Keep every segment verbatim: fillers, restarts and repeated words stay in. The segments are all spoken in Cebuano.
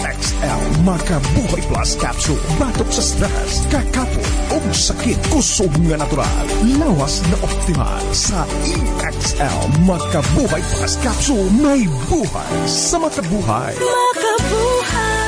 E X L Makabuhay Plus Capsule. Batok sa stress, kakapot, ug sakit. Kusog nga natural. Lawas na optimal. Sa E X L Makabuhay Plus Capsule, may buhay sa makabuhay. Makabuhay.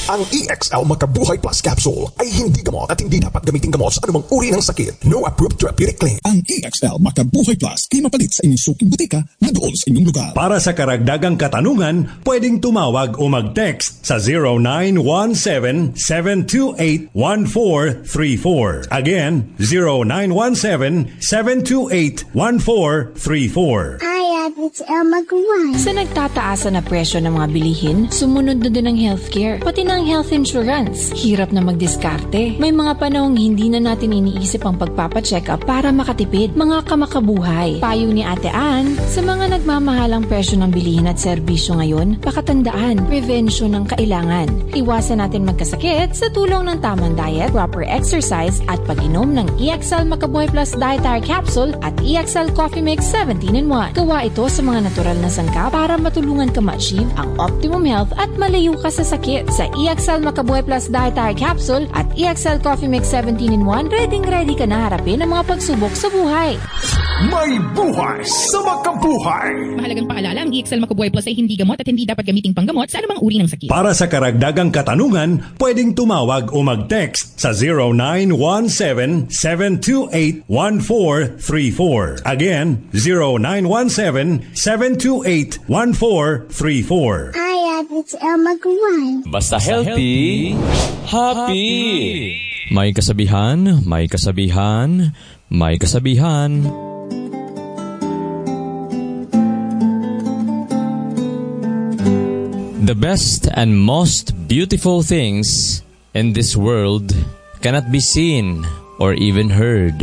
Ang E X L Makabuhay Plus Capsule ay hindi gamot at hindi dapat gamitin gamot sa anumang uri ng sakit. No approved therapeutic claim. Ang E X L Makabuhay Plus kay mapalit sa inyong suking botika na dool sa inyong lugar. Para sa karagdagang katanungan, pwedeng tumawag o mag-text sa zero nine one seven, seven two eight, one four three four. Again, zero nine one seven, seven two eight, one four three four. Hi, it's Elma Guan. Sa nagtataasa na presyo ng mga bilihin, sumunod na din ang healthcare, pati na ang health insurance. Hirap na magdiskarte. May mga panahong hindi na natin iniisip ang pagpapacheck up para makatipid. Mga kamakabuhay. Payo ni Ate Ann, sa mga nagmamahalang presyo ng bilihin at serbisyo ngayon, pakatandaan, prevention ang kailangan. Iwasan natin magkasakit sa tulong ng tamang diet, proper exercise, at pag-inom ng E X L Makabuhay Plus Dietary Capsule at E X L Coffee Mix seventeen in one. Gawa ito sa mga natural na sangkap para matulungan ka ma-achieve ang optimum health at malayo ka sa sakit. Sa E X L Makabuhay Plus Dietary Capsule at E X L Coffee Mix seventeen in one, ready ready ka na harapin ang mga pagsubok sa buhay. May buhay sa makabuhay. Mahalagang paalala, ang E X L Makabuhay Plus ay hindi gamot at hindi dapat gamiting panggamot sa anumang uri ng sakit. Para sa karagdagang katanungan, pwedeng tumawag o mag-text sa zero nine one seven, seven two eight, one four three four. Again, zero nine one seven, seven two eight, one four three four. Hi, it's Elma Guan. Basta healthy, happy. May kasabihan, may kasabihan, may kasabihan. The best and most beautiful things in this world cannot be seen or even heard,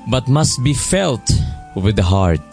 but must be felt with the heart.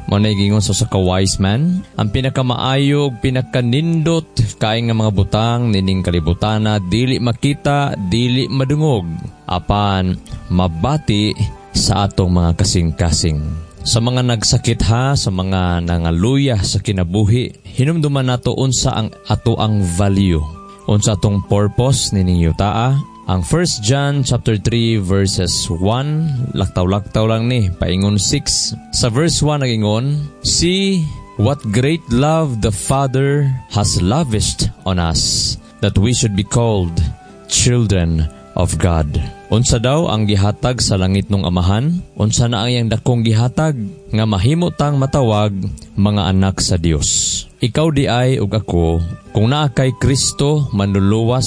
Mao na gingon sa usa ka wise man, ang pinakamaayo ug pinakanindot kay nga mga butang nining kalibutana dili makita, dili madungog, apan mabati sa atong mga kasing-kasing. Sa mga nagsakit ha, sa mga nangaluya sa kinabuhi, hinumduman nato unsa ang ato ang value, unsa atong purpose nining yutaa. Ang First John chapter three verses one, laktaw-laktaw lang ni, paingon six. Sa verse one nagingon, "See what great love the Father has lavished on us, that we should be called children of God." Unsa daw ang gihatag sa langit nung amahan? Unsa na ang iyang dakong gihatag nga mahimo tang matawag mga anak sa Dios? Ikaw di ay ug ako, kung naa kay Kristo manluluwas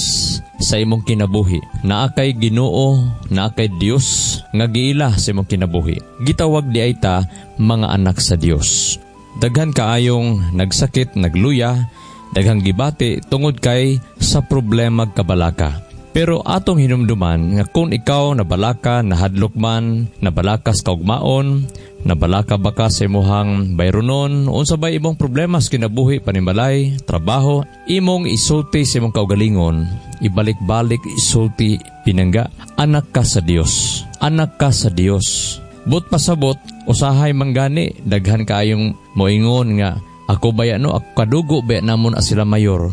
sa imong kinabuhi, naa kay Ginoo, naa kay Dios nga giila sa imong kinabuhi, gitawag di ay ta mga anak sa Dios. Daghan kaayong nagsakit, nagluya, daghang gibati tungod kay sa problema kabalaka. Pero atong hinumduman nga kung ikaw nabalaka, nahadlok man, nabalaka sa kaugmaon, nabalaka ba ka sa imuhang bayronon, unsa bay imong problema sa kinabuhi, panimbalay, trabaho, imong isulti sa imong kaugalingon, ibalik-balik isulti pinangga, anak ka sa Dios. Anak ka sa Dios. But pasabot, usahay manggani, daghan kaayong moingon nga, ako baya no, ako kadugo baya namon sila mayor.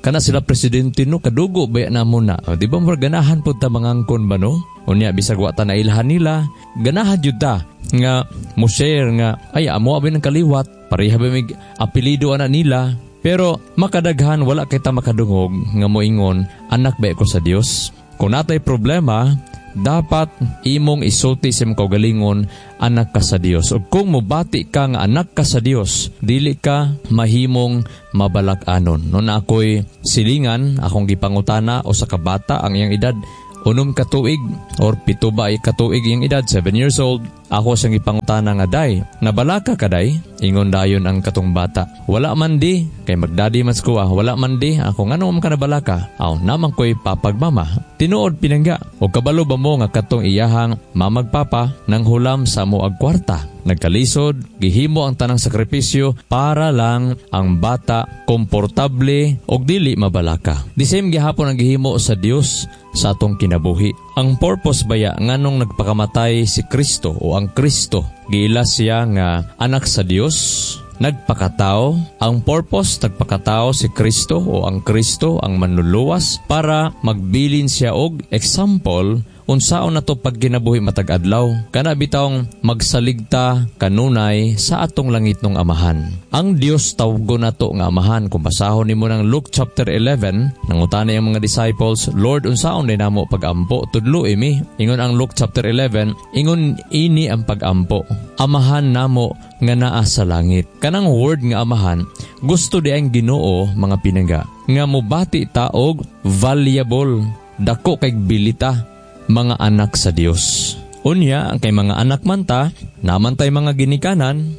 Kana sila presidente no, kadugo baya namon na. O, di ba murag ganahan pud ta mangangkon ba no? Unya bisag wa ta nailhan nila, ganahan jud ta nga mo share nga ay amo abi ng kaliwat, pareha ba mig apelyido ana nila. Pero makadaghan wala kay ta makadungog nga moingon anak ba ko sa Dios. Kung natay problema, dapat imong isulti sa imong kaugalingon, anak ka sa Dios. Ug kung mobati ka nga anak ka sa Dios, dili ka mahimong mabalak-anon. Noon ako'y silingan, akong gipangutana o sa kabata ang iyang edad, unom ka tuig or pito ba ay katuig iyang edad, seven years old. Ako siyang gipangutana nga, "Day, nabalaka ka day?" Ingon dayon ang katong bata, "Wala man di, kay magdadi man ko ah, wala man di." Ako, "Ngano man ka nabalaka?" "Aw, naman ko'y papagmama." Tinuod pinangga, o kabalo ba mo nga katong iyahang mamagpapa nang hulam sa mo ag kwarta? Nagkalisod, gihimo ang tanang sakripisyo para lang ang bata komportable og dili mabalaka. The same gihapon ang gihimo sa Dios sa atong kinabuhi. Ang purpose baya nganong nagpakamatay si Kristo o ang Kristo, giila siya nga anak sa Dios, Nagpakatao, ang purpose nagpakatao si Kristo o ang Kristo ang manluluwas para magbilin siya og example unsaon nato pagginabuhi matag adlaw. Kana bitawng magsaligta kanunay sa atong langitnong Amahan. Ang Dios tawgon nato nga Amahan. Kung basahon nimo ng Luke chapter eleven, nangutana ang mga disciples, "Lord, unsaon din namo pagampo? Tudlo imi." Ingon ang Luke chapter eleven, ingon ini ang pagampo: "Amahan namo nga naa sa langit." Kanang word nga Amahan, gusto di ang Ginoo, mga pinangga, nga mobati ta og valuable, dako kay bilita, mga anak sa Dios. Unya, kay mga anak man ta, namantay mga ginikanan,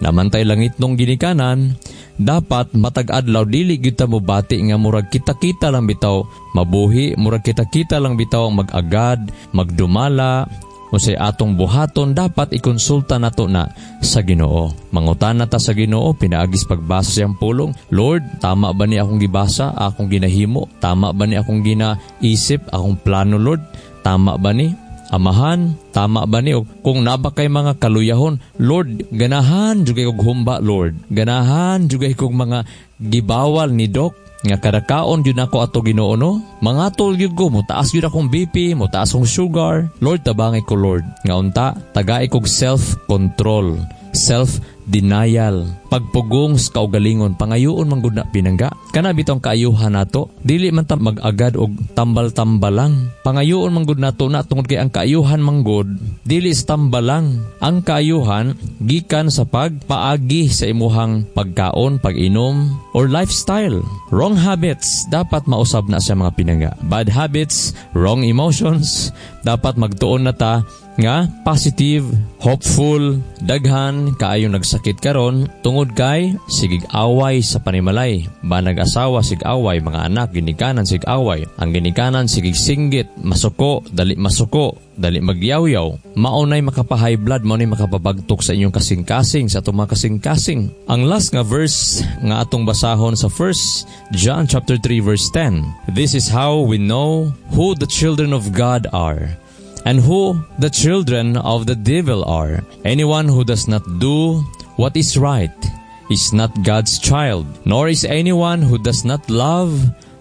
namantay langitnong ginikanan, dapat matag adlaw dili gyud ta mobati nga murag kita-kita lang bitaw mabuhi, murag kita-kita lang bitaw mag-agad, magdumala, unsay atong buhaton, dapat ikonsulta nato na sa Ginoo. Mangutana ta sa Ginoo pinaagis pagbasa siyang pulong. "Lord, tama ba ni akong gibasa, akong ginahimo? Tama ba ni akong ginaisip, akong plano, Lord? Tama ba ni? Amahan, tama ba ni?" O kung naba kay mga kaluyahon, "Lord, ganahan jud kog humba, Lord. Ganahan jud kog mga gibawal ni Doc nga kada kaon jud nako ato, Ginoo, no? Mangatol gyud ko, motaas gyud akong B P, motaas akong sugar. Lord, tabangay ko, Lord. Nga unta, tagay kog self-control, self-denial, pagpugong sa kaugalingon." Pangayoon man gud na, pinangga. Kana bitong kaayuhan nato, dili man ta mag-agad og tambal-tambal lang. Pangayoon man gud nato na tungod kay ang kaayuhan man gud dili sa tambal lang. Ang kaayuhan gikan sa pagpaagi sa imuhang pagkaon, pag-inom or lifestyle. Wrong habits dapat mausab na sa mga pinangga. Bad habits, wrong emotions, dapat magtuon na ta nga positive, hopeful, daghan kaayo nagsakit karon tungod kay sigig away sa panimalay. Banag asawa sig away, mga anak ginikanan sig away. Ang ginikanan sigig singgit, masuko, dali masuko, dali magyawyaw. Maunay makapa-high blood, maunay makapabagtok sa inyong kasing-kasing, sa atong mga kasing-kasing. Ang last nga verse nga atong basahon sa First John chapter three verse ten. This is how we know who the children of God are and who the children of the devil are. Anyone who does not do what is right is not God's child, nor is anyone who does not love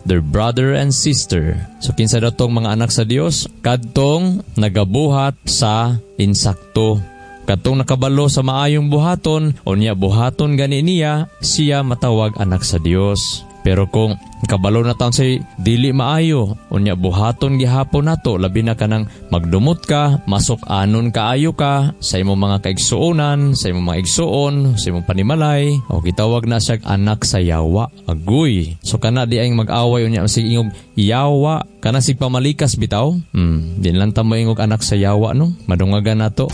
their brother and sister. So kinsa daw tong mga anak sa Dios? Kadtong nagabuhat sa insakto. Kadtong nakabalo sa maayong buhaton, unya buhaton gani niya, siya matawag anak sa Dios. Pero kung kabalo na taon say dili maayo, unya buhaton gihapon nato, labi na kanang magdumot ka, masok anon kaayo ka sa imong mga kaigsuonan, sa imong mga igsuon, sa imong panimalay, o gitawag na siya anak sa yawa. Agoy. So kana di ay mag-away unya sig ingog yawa, kana sig pamalikas bitaw. Hmm, di lang ta mo ingog anak sa yawa, no. Madungagan nato.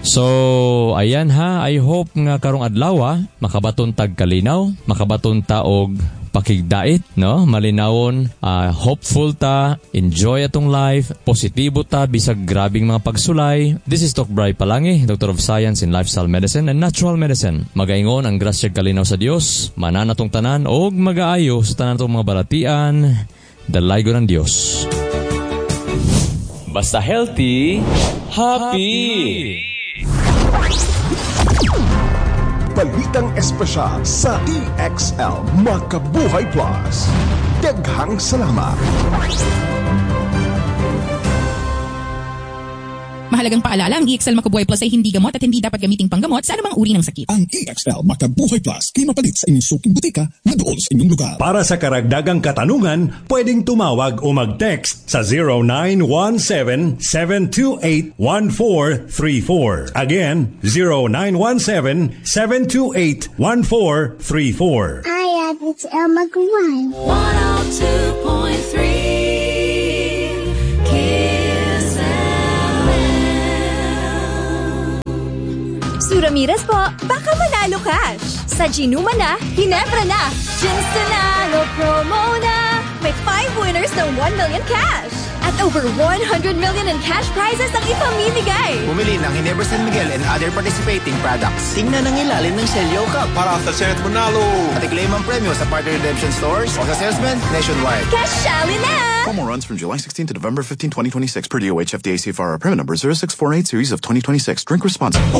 So, ayan ha, I hope nga karong adlaw makabaton tag kalinaw, makabaton ta og pakigdait, no? Malinawon, uh, hopeful ta, enjoy atong life, positibo ta bisag grabing mga pagsulay. This is Doc Bry Palangi, Doctor of Science in Lifestyle Medicine and Natural Medicine. Magaingon ang grasya kalinaw sa Dios, mananatong tanan og magaayo sa tanan atong mga balatian, dalaygon ang Dios. Basta healthy, happy. Happy. Balitang espesyal sa E X L Makabuhay Plus. Daghang salamat. Mahalagang paalala, ang E X L Makubuhay Plus ay hindi gamot at hindi dapat gamiting panggamot sa anumang uri ng sakit. Ang E X L Makabuhay Plus kay mapalit sa inyong suking butika na dool sa inyong lugar. Para sa karagdagang katanungan, pwedeng tumawag o mag-text sa zero nine one seven, seven two eight, one four three four. Again, zero nine one seven, seven two eight, one four three four. I have it's El Maguire. one oh two point three Kiss F M. Sue Ramirez po, baka manalo cash. Sa Ginuma na, Ginebra na, Ginsanalo promo na. May five winners ng one million cash. At over one hundred million in cash prizes ang ipamimigay. Bumili ng Ginebra San Miguel and other participating products. Tingnan ang ilalim ng Selyo Cup. Para sa Senate Manalo. At i-claim ang premyo sa partner redemption stores o sa salesman nationwide. Cashali na! Promo runs from July sixteen to November fifteen, twenty twenty-six per D O H F D A C F R permit number zero six four eight series of twenty twenty-six. Drink responsibly.